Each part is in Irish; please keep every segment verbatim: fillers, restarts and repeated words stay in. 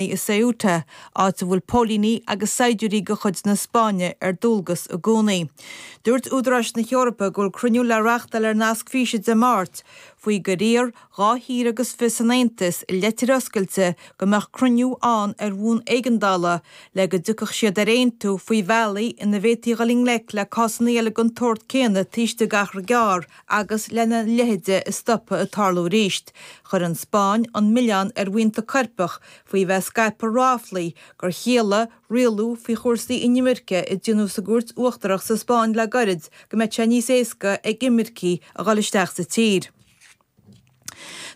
i Ceuta, áit a bhfuil póilíní agus saighdiúirí de chuid na Spáinne ar dualgas i gcónaí. Dúirt údaráis na hEorpa go bhfuil cruinniú le reáchtáil ar nasc físe Dé Máirt faoi gur iarr dhá thír agus fiche san Aontas i leitir oscailte go mbeadh cruinniú ann ar bhonn éigeandála le go dtiocfadh siad ar aontú faoi bhealaí ina bhféadfaí dul i ngleic le cásanna eile den tsórt céanna taobh istigh d'achar gearr agus lena leithéide a stopadh ag tarlú arís. Chuir an Spáinn an milleán ar bhuíonta coirpeach faoi bheith ag scaipeadh ráflaí gur chiallaigh rialú faoi chúrsaí inimirce a déanadh sa gCúirt Uachtarach sa Spáinn le gairid go mbeadh sé níos éasca ag imircigh a dhul isteach sa tír.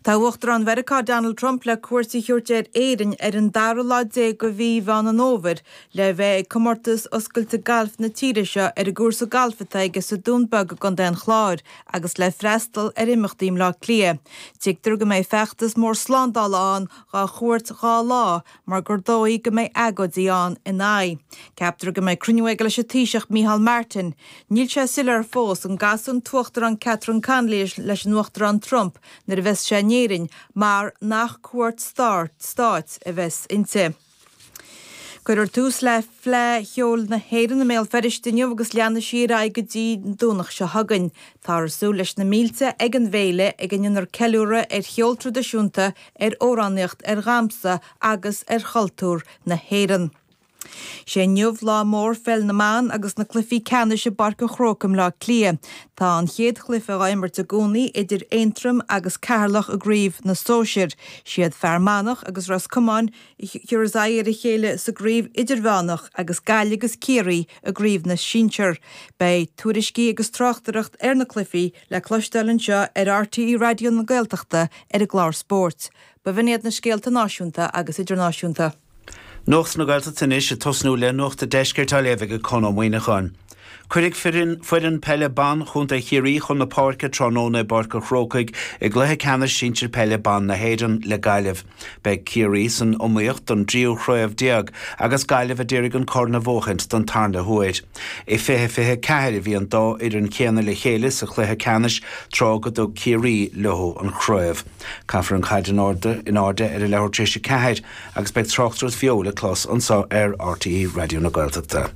Tá Uachtarán Mheiriceá Donald Trump le cuairt a thabhairt ar Éirinn ar an dara lá déag de mhí Mheán an Fhómhair le bheith ag comórtas oscailte gailf na tíre seo ar an gcúrsa gailf atá aige sa Dún Beag i gContae an Chláir agus le freastal ar imeachtaí i mBleá Cliath. Tuigtear go mbeidh feachtas mór slándála ann dá chuairt dhá lá mar gur dóigh go mbeidh agóidí ann ina aghaidh. Ceaptar go mbeidh cruinniú aige leis an Taoiseach Micheál Martin. Níl sé soiléir fós an gcasfaidh an tUachtarán Catherine Connolly leis an Uachtarán Trump nuair a bheas sé in Éirinn mar nach cuairt stáit a bheas inti. Cuirfear tús le Fleadh Cheoil na hÉireann i mBéal Feirste inniu agus leanfaidh sí ar aghaidh go dtí an Domhnach seo chugainn. Táthar ag súil leis na mílte ag an bhféile ag a ndéanfar ceiliúradh ar cheol traidisiúnta, ar amhránaíocht, ar dhamhsa agus ar chultúr na hÉireann. Sé inniu lá mór pheil na mban agus na cluichí ceannais i bPáirc an Chrócaigh i mBleá Cliath. Tá an chéad chluiche á imirt i gcónaí idir Aontroim agus Ceatharlach i gcraobh na sóisear. Siad Fear Manach agus Ros Comáin a thabharfas aghaidh ar a chéile sa gcraobh idirmheánach agus Gaillimh agus Ciarraí i gcraobh na sinsear. Beidh tuairiscí agus tráchtaireacht ar na cluichí le cloisteáil anseo ar RTÉ Raidió na Gaeltachta ar an gclár spóirt. B'in iad na scéalta náisiúnta agus idirnáisiúnta. Nuacht na Gaeltachta anois ag tosnú le Nuacht an Deiscirt á léamh ag Conn Ó Muíneacháin. Cuirfidh foireann peile ban Chontae Chiarraí chun na páirce tráthnóna i bPáirc an Chrócaigh i gcluiche ceannais sinsir peile ban na hÉireann le Gaillimh. Beidh Ciarraí san iomaíocht don dtríú chraobh déag agus Gaillimh a d'iarraidh an corn a bhuachaint don tarna huair. I fiche fiche ceathair a bhí an dá fhoireann chéanna le chéile sa chluiche ceannais tráth go dtug Ciarraí leo an chraobh. Caithfear an chaid in airde in airde ar a leathuair tar éis a ceathair agus beidh tráchtaireacht bheo le clos anseo ar RTÉ Raidió na Gaeltachta.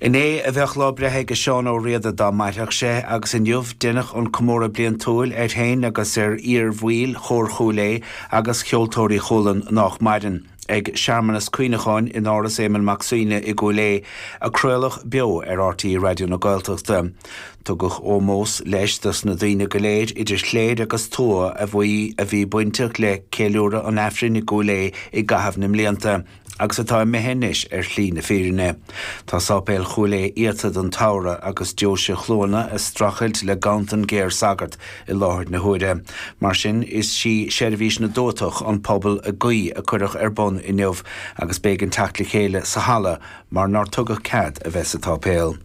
Inné a bheadh lá breithe ag Seán Ó Riada dá mairfeadh sé agus inniu deineadh an comóradh bliantúil air féin agus ar iar-bhaill Chór Chúil Aodha agus Cheoltóirí Chualann nách maireann ag searmanas cuimhneacháin in Áras Éamonn Mac Suibhne i gCúil Aodha a craoladh beo ar RTÉ Raidió na Gaeltachta. Tugadh ómós leis dos na daoine go léir idir chléir agus tuath a bhí a bhí bainteach le ceiliúradh an Aifrinn i gCúil Aodha i gcaitheamh na mblianta agus atá imithe anois ar shlí na fírinne. Tá sáipéal Chúil Aodha iata don tsamhradh agus deoise Chluana ag streachailt le ganntan géar sagart i láthair na huaire. Mar sin is sí seirbhís na dtuatach an pobal ag guí a cuireadh ar bun inniu agus b'éigean teacht le chéile sa halla mar nár tugadh cead a bheith sa tsáipéal.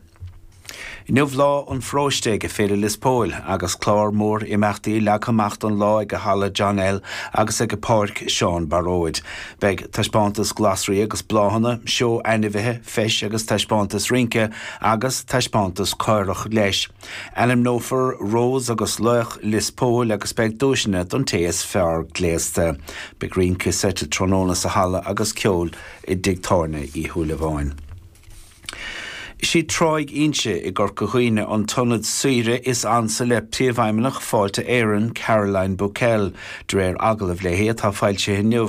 Inniu lá an pharóiste ag Féile Lios Póil agus clár mór imeachtaí leagtha amach don lá ag Halla John L agus ag Páirc Seán Baróid. Beidh taispeántas glasraí agus bláthanna, seó ainmhithe, feis agus taispeántas rince agus taispeántas caorach leis. Ainmneofar Rós agus Laoch Lios Póil agus beidh duaiseanna don té is fearr gléasta. Beidh rince seite tráthnóna sa halla agus ceol i dTigh Tábhairne Uí Shúilleabháin. Is í Tráigh Inse i gCorca Dhuibhne an t-ionad saoire is ansa le príomhfheidhmeannach Fáilte Éireann Caroline Bocquel, de réir agallamh léi atá foilsithe inniu.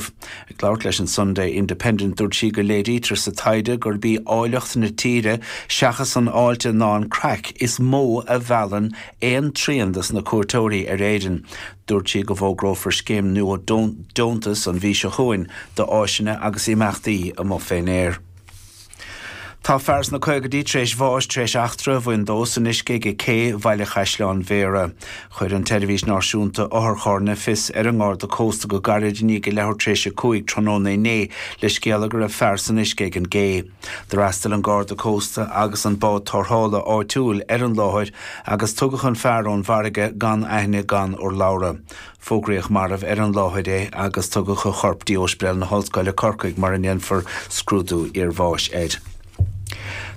Ag labhairt leis an Sunday Independent dúirt sí go léirítear sa taighde gurb í áilleacht na tíre seachas an fháilte ná an craic is mó a mheallann aon trian dos na cuairteoirí ar Éirinn. Dúirt sí go bhfógrófar scéim nua deontas an mhí seo chugainn d'áiseanna agus imeachtaí amuigh fén aer. Tá fear sna caogaidí tar éis bháis tar éis eachtra a bhain dó san uisce ag cé Bhaile Chaisleáin Bhéarra. Chuir an tSeirbhís Náisiúnta Otharcharranna fios ar an nGarda Cósta go gairid i ndiaidh a leathuair tar éis a cúig tráthnóna inné le scéala go raibh fear san uisce ag an gcé. D'fhreastail an Garda Cósta agus an bád tarrthála áitiúil ar an láthair agus tugadh an fear ón bhfarraige gan aithne gan urlabhra. Fógraíodh marbh ar an láthair é agus tugadh a chorp dtí Ospidéal na hOllscoile Corcaigh mar a ndéanfar scrúdú iarbháis air.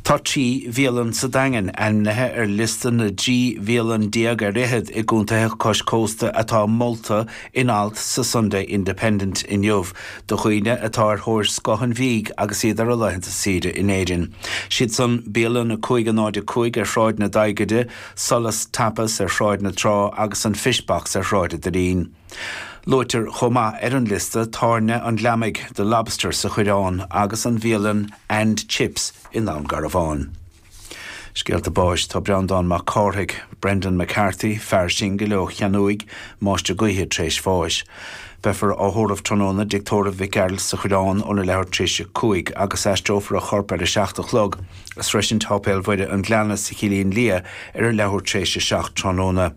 Tá trí bhialann sa Daingean ainmnithe ar liosta na dtrí bhialann déag ar fhichead i gcontaetha cois cósta atá molta in alt sa Sunday Independent inniu do dhaoine atá ar thóir scoth an bhídh agus iad ar a laethanta saoire in Éirinn. Siad san bialann a cúig a náid a cúig ar Shráid na Daighide, Solas Tapas ar Shráid na Trá agus an Fish Box ar Shráid an Doirín. Luaitear chomh maith ar an liosta Tábhairne an Ghleamaigh, The Lobster sa Choireán agus an bhialann And Chips i nDún Garbhán. Scéalta báis tá Breandán Mac Cárthaigh, Brendan McCarthy, fear singil ó Cheannúig, máistir gaoithe tar éis bháis. Beifear á thórramh tráthnóna i dtigh tórraimh Mhic Gearailt sa Choireán óna leathuair tar éis a cúig agus aistreofar a chorp ar a seacht a chlog as Sroisint Sháipéal Mhuire an Ghleanna sa Chillín Liath ar a leathuair tar éis a seacht tráthnóna.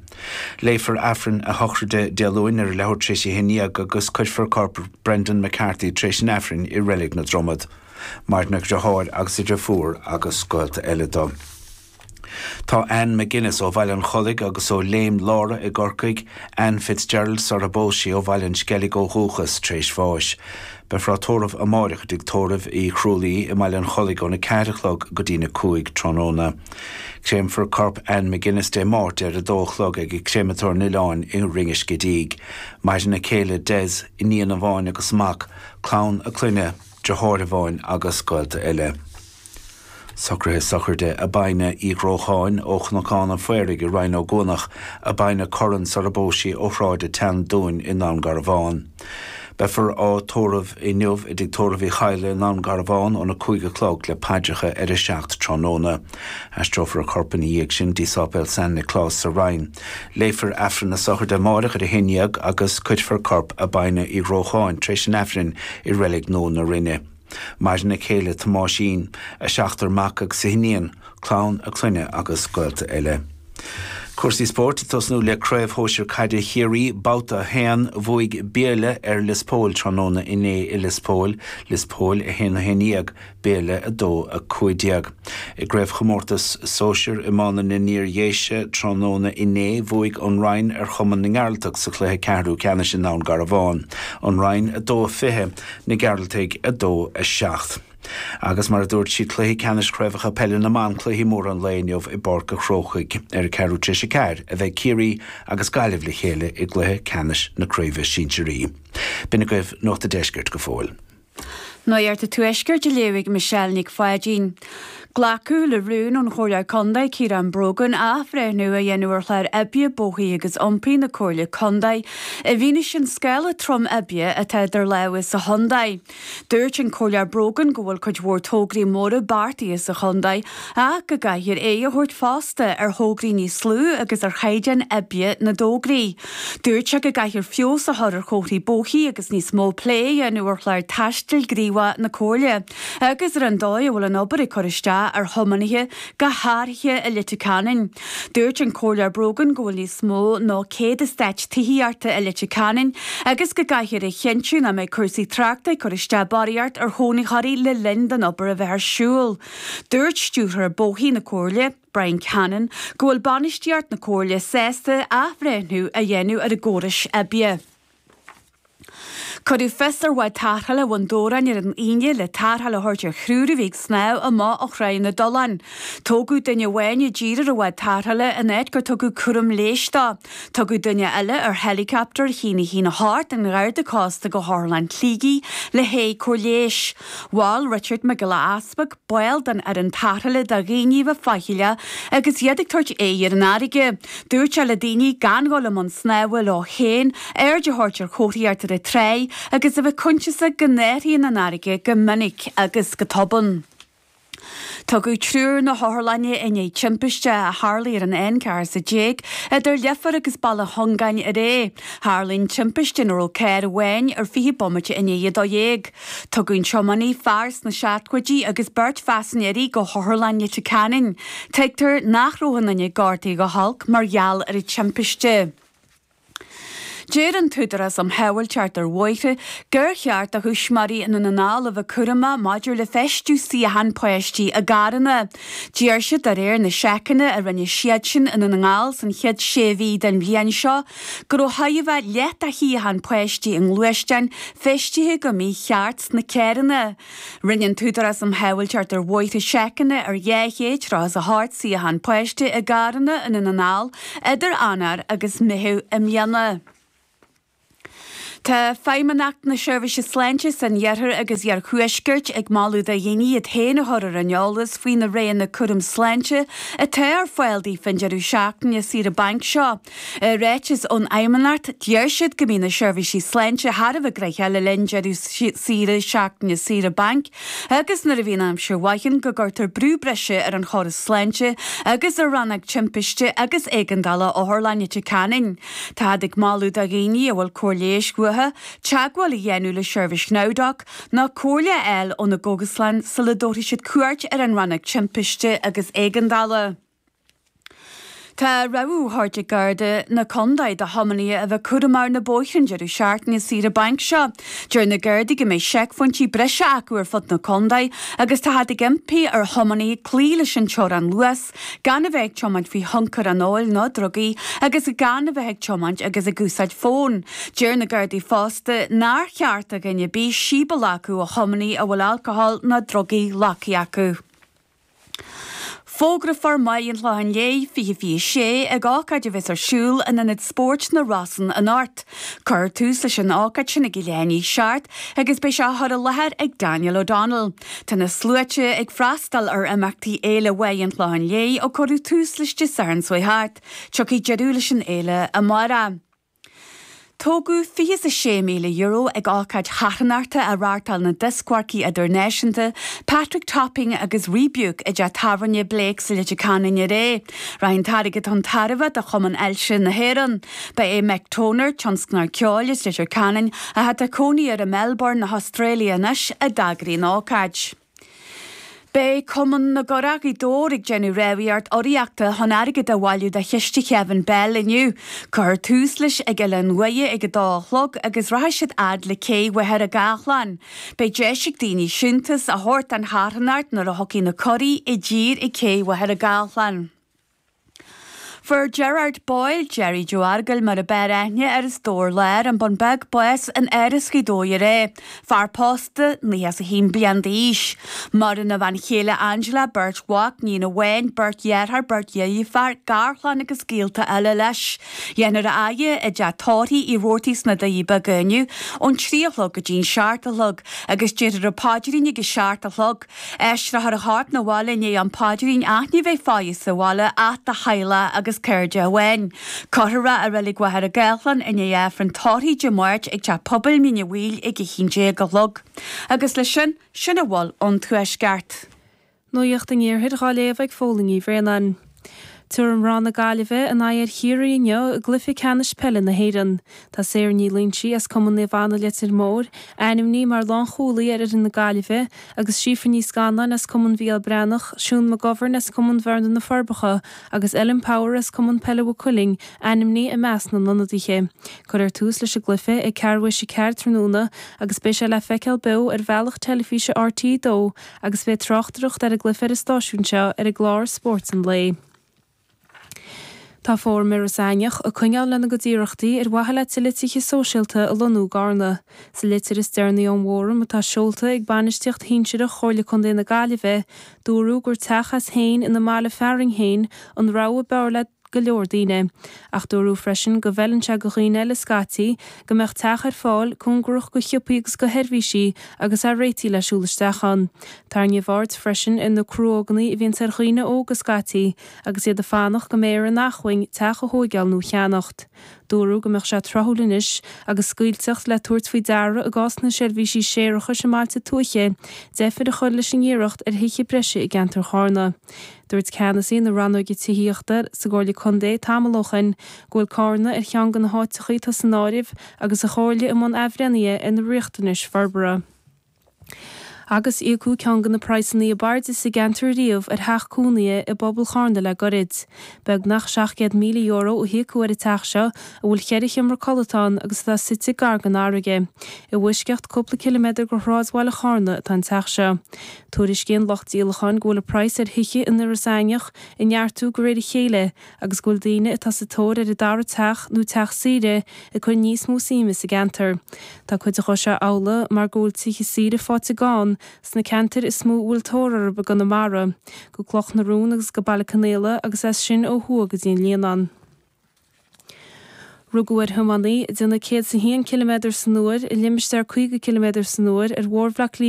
Léifear Aifreann a shochraide Dé Luain ar a leathuair tar éis a haon déag agus cuirfear corp Brendan McCarthy tar éis an Aifrinn i Reilig na Dromad. Maireann a dheartháir agus a dheirfiúr agus gaolta eile dó. Tá Anne McGuinness ó Bhaile an Chollaigh agus ó Léim Lára i gCorcaigh, Anne Fitzgerald sar a bpós sí ó Bhaile an Sceilg ó dhúchas tar éis bháis. Beifear á tórramh amáireach i dtigh tórraimh Uí Chrualaoi i mBaile an Chollaigh óna ceathair a chlog go dtína cúig tráthnóna. Créamfar corp Anne McGuinness Dé Máirt ar a dó a chlog ag Créamatóir an Oileáin i Rinn Scidígh. Maireann a céile Des, iníon amháin agus mac, clann a clainne, deartháir amháin agus gaolta eile. Socruithe sochraide Abina Uí Ghrócháin ó Chnocán an Phaoraigh i Rinn Ó gCuanach, Abina Curran sar a bpós sí ó Shráid an tSeandúin i nDún Garbhán. Beifear á tórramh inniu i dtigh tórraimh Uí Chadhla i nDún Garbhán óna cúig a chlog le paidreacha ar a seacht tráthnóna. Aistreofar a corp ina dhiaidh sin dtí Sáipéal San Nioclás sa Rinn. Léifear Aifreann na sochraide amáireach ar a haon déag agus cuirfear corp Abina Uí Ghrócháin tar éis an Aifrinn i Reilig Nua na Rinne. Maireann a céile Tomáisín, a seachtar mac agus a hiníon, clann a clainne agus gaolta eile. Cúrsaí spóirt ag tosnú le Craobh Shóisir Caide Chiarraí babhta a haon bhuaigh Béile ar Lios Póil tráthnóna inné i Lios Póil, Lios Póil a haon a haon déag, Béile a dó a cúig déag. I gcraobhchomórtas sóisir iomána na nIar-Dhéise tráthnóna inné bhuaigh an Rinn ar Chumann na nGearaltach sa chluiche ceathrú ceannais i nDún Garbhán. An Rinn a dó a fiche, na Gearaltaigh a dó a seacht. Agus mar a dúirt siad cluiche ceannais chraobhacha peile na mban cluichí móra an lae inniu i bPáirc an Chrócaigh ar a ceathrú tar éis a ceathair a bheidh Ciarraí agus Gaillimh le chéile i gcluiche ceannais na craoibhe sinsearaí. B'in agaibh Nuacht an Deiscirt go fóill. Nuacht an Tuaiscirt á léamh ag Michelle Nic Pháidín. Glacadh le rún ón Chomhairleoir Contae Ciarán Brogan athbhreithniú a dhéanamh ar chlár oibre bóithre agus iompair na Comhairle Contae i bhfianaise an scála trom oibre atá idir lámha sa chontae. Dúirt an Comhairleoir Brogan go bhfuil cuid mhór tograí móra beartaithe sa chontae ach go gcaithfear aghaidh a thabhairt fosta ar thograí níos lú agus ar chaighdeán oibre na dtograí. Dúirt sé go gcaithfear feabhas a chur ar chomharthaí bóithre agus níos mó plé a dhéanamh ar chlár taistil gníomhach na Comhairle agus ar an dóigh a bhfuil an obair ag cur isteach ar thiománaithe go háirithe i Leitir Ceanainn. Dúirt an Comhairleoir Brogan go bhfuil níos mó ná céad eastát tithíochta i Leitir Ceanainn agus go gcaithfear a chinntiú nach mbeidh cúrsaí tráchta ag cur isteach barraíocht ar chónaitheoirí le linn don obair a bheith ar siúl. Dúirt stiúrthóir bóithre na Comhairle, Brian Cannon, go bhfuil bainistíocht na Comhairle sásta athbhreithniú a dhéanamh ar a gcórais oibre. Cuireadh fios ar bhád tarrthála Bhun Dobhráin ar an Aoine le tarrtháil a thabhairt ar thriúr a bhí ag snámh amach ó Thráigh na dTollán. Tógadh duine amháin i dtír ar an bhád tarrthála in áit gur tugadh cúram leighis dó. Tugadh duine eile ar heileacaptar a haon a haon a hocht an Gharda Cósta go hOtharlann Shligigh le haghaidh cóir leighis. Mhol Richard Mac Giolla Easpaig, baill den fhoireann tarrthála do dhaoine a bheith faichilleach agus iad ag tabhairt aghaidh ar an fharraige. Dúirt sé le daoine gan dhul i mbun snámha leo féin, aird a thabhairt ar chomharthaíocht ar an tráigh agus a bheith cuntasach go n-athraíonn an fharraige go minic agus go tobann. Tugadh triúr na hotharlainne i ndiaidh timpiste a tharlaigh ar an N ceathair sa déag idir Leifear agus Baile Chongáin aréir. Tharla an timpiste ina raibh carr amháin ar fiche bomaite i ndiaidh a dó dhéag. Tugadh an tiománaí, fear sna seachtóidí agus beirt phaisinéirí go hOtharlann Leitir Ceanainn. Tuigtear nach raibh aon duine gortaithe go holc mar gheall ar an timpiste. Deir an tÚdarás um Shábháilteacht ar Bhóithre gur cheart do thuismitheoirí i nDún na nGall a bheith cúramach maidir le feistiú suíochán páistí i gcarranna. Deir siad de réir na seiceanna a rinne siadsan i nDún na nGall san chéad sé mhí den bhliain seo go raibh chóir a bheith leath de shuíocháin páistí i ngluaisteáin feistithe go mícheart sna carranna. Rinne an tÚdarás um Shábháilteacht ar Bhóithre seiceanna ar dhá chéad tríocha is a hocht suíochán páiste i gcarranna i nDún na nGall idir Eanáir agus Meitheamh i mbliana. Tá Feidhmeannacht na Seirbhíse Sláinte san Iarthar agus Iarthuaisceart ag moladh do dhaoine iad féin a chur ar an eolas faoi na roghanna cúram sláinte atá ar fáil daofa an deireadh seachtaine saoire bainc seo. I ráiteas ón Fheidhmeannacht, deir siad go mbíonn na seirbhísí sláinte thar a bheith gnoitheach le linn deireadh saoire seachtaine saoire bainc agus nuair a bhíonn aimsir mhaith ann go gcuirtear brú breise ar an chóras sláinte agus ar rannóg timpiste agus éigeandála Otharlann Leitir Ceanainn. Táthar ag moladh do dhaoine a bhfuil cóir leighis uathu teagmháil a dhéanamh le seirbhís NowDoc nó comhairle a fháil óna gcógaslann sula dtabharfaidh siad cuairt ar an rannóg timpiste agus éigeandála. Tá rabhadh á thabhairt ag Garda na Contae do thiománaithe a bheith cúramach ar na bóithre an deireadh seachtaine saoire bainc seo. Deir na Gardaí go mbeidh seicphointí breise acu ar fud na contae agus táthar ag impí ar thiománaithe cloí leis an teorainn luas, gan a bheith ag tiomáint faoi thionchar an óil nó drugaí agus gan a bheith ag tiomáint agus ag úsáid fóin. Deir na Gardaí fosta nár cheart do dhuine ar bith síob a ghlacadh ó thiománaí a bhfuil alcohol nó drugaí glactha acu. Fógrófar Maigh an Chlocháin Léith fiche fiche sé ag ócáid a bheas ar siúl in Ionad Spóirt na Rosann anocht. Cuirfear tús leis an ócáid sin ag a leath i ndiaidh a seacht agus beidh sé á chur i láthair ag Daniel O'Donnell. Tá na sluaite ag freastal ar imeachtaí Fhéile Mhaigh an Chlocháin Léith ó cuireadh tús leis Dé Sathairn seo thart. Tiocfaidh deireadh leis an fhéile amárach. Tógadh fiche is a sé míle euro ag ócáid charthanachta a reáchtáil na dioscmharcaí idirnáisiúnta Patrick Topping agus Rebuke i dteach tábhairne Blake's i Leitir Ceanainn aréir. Rachaidh an t-airgead chun tairbhe do Chumann Ailse na hÉireann. Ba é Mick Toner, tionscnóir ceoil as Leitir Ceanainn, atá ag cónaí ar i Melbourne na hAstráile anois a d'eagraigh an ócáid. Beidh Cumann na gCurach Ghaoth Dobhair ag déanamh rámhaíocht urraíochta chun airgead a bhailiú do chiste Kevin Bell inniu. Cuirfear tús leis ag Oileán Mhuire ag a dó a chlog agus rachaidh siad fhad le cé Mhachaire Gathlán. Beidh deis ag daoine siúntas a thabhairt don charthanacht nuair a thiocfaidh na curaí i dtír ag cé Mhachaire Gathlán. Fuair Gerard Boyle, Gerry Joe Argyle mar ab fhearr aithne air as Dobhar Láir, an Bun Beag, bás in Áras Ghaoth Dobhair aréir. Fear pósta, naocha is a haon bliain d'aois. Maireann a bhean chéile Angela, beirt mhac, níon amháin, beirt dheartháir, beirt dheirfiúr, garchlann agus gaolta eile leis. Dhéanfar a fhaire i dteach tórraimh Uí Robhartaigh sna Doirí Beaga inniu ón trí a chlog go dtí'n seacht a chlog agus déarfar an paidrín ag a seacht a chlog. Aistreofar a chorp 'na bhaile i ndiaidh an phaidrín ach ní bheidh faire sa bhaile ach do theaghlach agus cairde amháin. Cuirfear é i Reilig Mhachaire Gathlán i ndiaidh Aifreann tórraimh Dé Máirt ag Teach Pobail Mín an Mhaoil ag a haon déag a chlog. Agus leis sin, sin a bhfuil ón Tuaisceart. Nuacht an Iarthair á léamh ag Fódhla Ní Bhraonáin. Tabharfaidh mná na Gaillimhe a n-aghaidh ar Chiarraí inniu i gcluiche ceannais peile na hÉireann. Tá Sarah Ní Loingsigh as Cumann Naomh Anna Leitir Móir ainmnithe mar lánchúlaí ar fhoireann na Gaillimhe agus Síofra Ní Scanláin as Cumann Mhícheál Breathnach, Siún McGovern as Cumann Bhearna na Forbacha agus Ellen Power as Cumann Peile Mhaigh Cuilinn ainmnithe i measc na n-ionadaithe. Cuirfear tús leis an gcluiche ag ceathrú théis a ceathair tráthnóna agus beidh sé le feiceáil beo ar bhealach teilifíse RTÉ dó agus beidh tráchtaireacht ar an gcluiche ar an stáisiún seo ar an gclár Spórt an Lae. Tá Fóram Iorras Aithneach ag coinneáil lena gcuid iarrachtaí ar mhaithe le tuilleadh tithe sóisialta a lonnú i gCarna. Sa litir is deireanaí ón bhFóram atá seolta ag bainistíocht shinsearach Chomhairle Contae na Gaillimhe, dúradh gur teach as féin ina mbaile fearainn féin an rogha b'fhearr le go leor daoine. Ach dúradh freisin go bhfeileann sé do dhaoine eile scaití go mbeadh teach ar fáil cóngarach go shiopaí agus go sheirbhísí agus é réitithe le siúl isteach ann. Tarraingíodh aird freisin ar na cruóganna a bhíonns ar dhaoine óga scaití agus iad ag fanacht go mbeidh ar a n-acmhainn teach a thóigeáil nó a cheannacht. Dúradh go mbeadh sé tráthúil anois agus scaoilteacht le tabhairt faoi deara i gcás na seirbhísí séarachais i mbailte tuaithe, deifir a chur leis an iarracht ar thithe breise i gceantar Charna. Dúirt ceannasaí na rannóige tithíochta sa gComhairle Contae tamall ó shin go bhfuil Carna ar cheann de na háiteacha atá san áireamh agus an Chomhairle i mbun athbhreithnithe ar na riachtanais forbartha. Agus íocadh ceann de na praghsanna ab airde sa gceantar riamh ar theach cónaithe i bpobal Charna le gairid. Beagnach seacht gcéad míle euro a híocadh ar an teach seo, a bhfuil ceithre sheomra codlata ann agus atá suite gar don fharraige. I bhfoisceacht cúpla ciliméadar de shráidbhaile Charna atá an teach seo. Tuairiscíonn lucht díolacháin go bhfuil an praghas ar thithe in Iorras Aithneach ag neartú de réir a chéile agus go bhfuil daoine atá sa tóir ar a dara teach nó teach saoire ag cur níos mó suime sa gceantar. Tá cuid de seo amhlaidh mar go bhfuil tithe saoire faighte gann sna ceantair is mó a bhfuil tóir orthu i gConamara, go Cloch na Rón agus go Baile Conaola agus as sin ó thuaidh go dtí an Líonán. Rugadh ar thiománaí ag déanamh céad is a haon ciliméadar san uair i limistéar caoga ciliméadar san uair ar Bhóthar Bhaile Átha Cliath